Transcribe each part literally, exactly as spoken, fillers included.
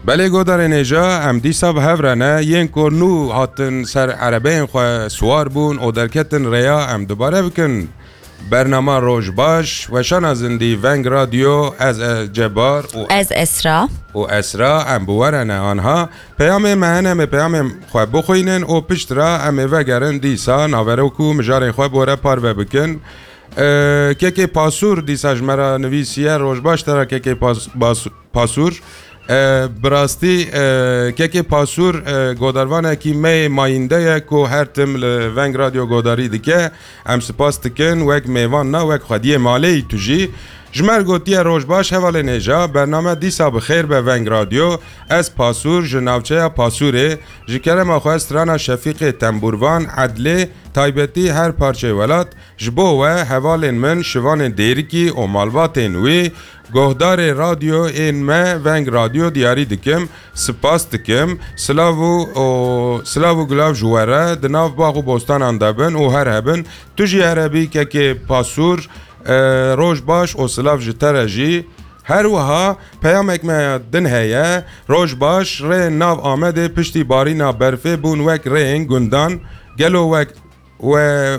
Belê godarên hêja, em dîsa bi hev re ne, yên ku nû hatin ser erebeyên xwe siwar bûn û derketin rêya, em dubare bikin. Bernama Roj Baş, weşana zindî Veng Radyo, ez e Cebar û Ez Esra. û Esra, em bi we re ne anha. Peyamê me hene, em ê peyamên xwe bixwînin û pişt re em ê vegerin dîsa naverok û mijarên xwe bi we re parve bikin. E, Kekê Pasûr dîsa ji me re nivîsiye, Roj Baş te re Kekê Pas-, Bas-, Pasûr. E, bi rastî, e, Kekê Pasûr, e, godarvanekî me yê mayînde ye ku her tim li Veng Radyo godarî dike. Em spas dikin, wek mêvan na, wek xwediyê malê yî tu jî. Ji me re gotiye, Roj baş hevalên hêja, bername dîsa bi xêr be Veng Radyo. Ez Pasûr, ji navçeya Pasûrê, ji kerema xwe strana Şefîqê Tembûrvan, Edlê, taybetî her parçeyê welat, ji bo we hevalên min, şivanên Dêrikî û malbatên wî, gohdarê radyoyên me Veng Radyo diyarî dikim, spas dikim, silav û, û silav û gilav ji we re, di nav bax û bostanan de bin û her hebin, tu jî her hebî kekê Pasûr, e, roj baş û silav ji te re jî. Her wiha peyamek me din heye, roj baş, rêyên nav Amedê piştî barîna berfê bûn wek rêyên gundan, gelo wek we,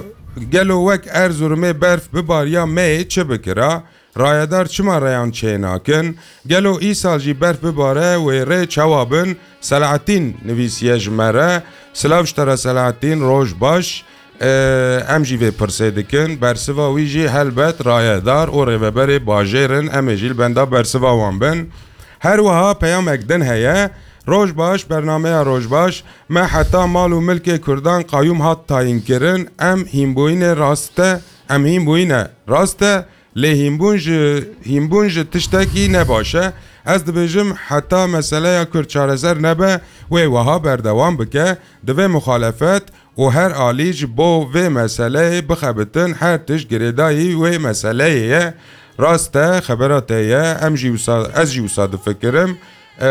gelo wek Erzurumê berf bibariya me yê çi bikira? Rayedar çima rêyan çênakin? Gelo îsal jî berf bibare wê rê çawa bin? Selahattin nivîsiye ji me re. Silav ji te re Selahattin, roj baş. Ee, em jî vê pirsê dikin. Bersiva wî jî helbet rayedar û rêveberê bajêr in. Em ê jî li benda bersiva wan bin. Her wiha peyamek din heye. Roj baş, bernameya Roj baş. Me heta mal û milkê Kurdan qayûm hat tayîn kirin. Em hînbûyînê rast e, em hîn bûyîne rast e, lê hînbûn ji, hînbûn ji tiştekî ne baş e. Ez dibêjim, heta meseleya Kurd çareser nebe, wê wiha berdewam bike. Divê muxalefet û her alî ji bo vê meseleyê bixebitin, her tişt girêdayî wê meseleyê ye. Rast e, xebera te ye, em jî wisa, ez jî wisa difikirim. Ee,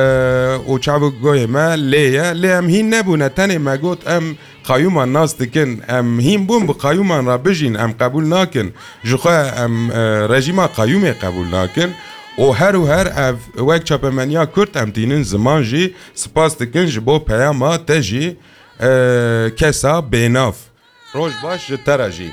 û çav û goyê me lê ye. Lê em hîn nebûne, tenê me got, em qayûman nas dikin, em hîn bûn bi qayûman re bijîn, em qebûl nakin. Ji xwe em, e, rejîma qayûmê qebûl nakin. Û her û her ev wek çapemeniya Kurd em tînin ziman jî, spas dikin ji bo peyama te jî, e, kesa bênav. Roj baş ji te re jî.